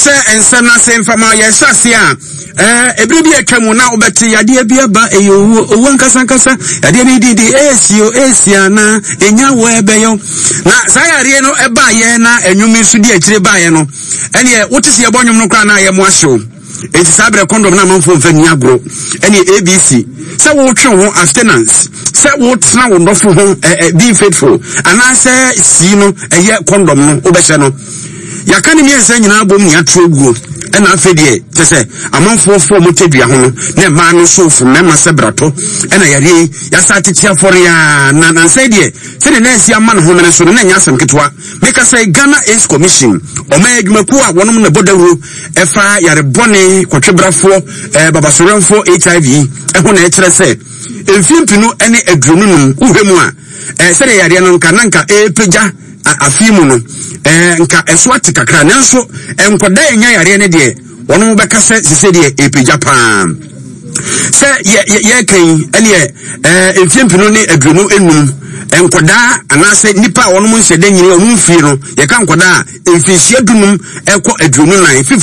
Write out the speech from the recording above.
Yɛnhyɛ nsɛm no ase mfa ma yɛhyɛ ase a ɛɛ ebere bi atwa mu na wobɛte yadeɛ bi aba ɛyɛ owuo owuo ankasa ankasa yadeɛ no didi ɛɛsi o ɛɛsi anaa ɛnya wɔ ɛbɛyɛ na saa yadeɛ no ɛbaayɛ na ɛnwom nso di akyire baayɛ no ɛneɛ wote sɛ yɛbɔ nwom no koraa na ayɛ mo ahyew. Enti saa berɛ kɔndɔm no amanfoɔ mfa nni agorɔ ɛne ABC sɛ wotwe wo ho abstinence sɛ wotena wo dɔfo ho being faithful anaasɛ C no ɛyɛ kɔndɔm no wobɛhyɛ no yɛaka ne mmiɛnsa nyinaa bom ne atoro guo ɛna afei deɛ kyɛ sɛ amanfoɔ fo ɔmo tadua ho no na mmaa no so fo mmarima sɛ brato ɛna yareɛ yi yɛasa atete afɔre a na nansɛ deɛ sɛdeɛ na asi ama ne ho mene so no na ɛnyɛ asɛm ketewa. Meka sɛ Ghana AIDS Commission, ɔman adwumakuo a wɔnom na ɛbɔ dawuro ɛfa yare bɔne kɔtwebrafoɔ, eh, babasowerɛmfoɔ HIV ɛho na ɛkyerɛ sɛ mfie mpinu ne 25 wohwɛ mu a eh, sɛdeɛ yareɛ no nka na nka ɛrepagya afei mu no eh, nka ɛso ate kakra nanso nkɔda ɛnya yareɛ no deɛ wɔn bɛka sɛ sese deɛ ɛrepagya paa sɛ yɛ yɛ yɛka yi ɛneɛ ɛɛ mfie 2025 nkɔdaa anaasɛ nipa a wɔn nhyɛ dɛ nyini wɔn mfie no yɛka nkɔdaa a mfinhyia 15 ɛkɔ 24.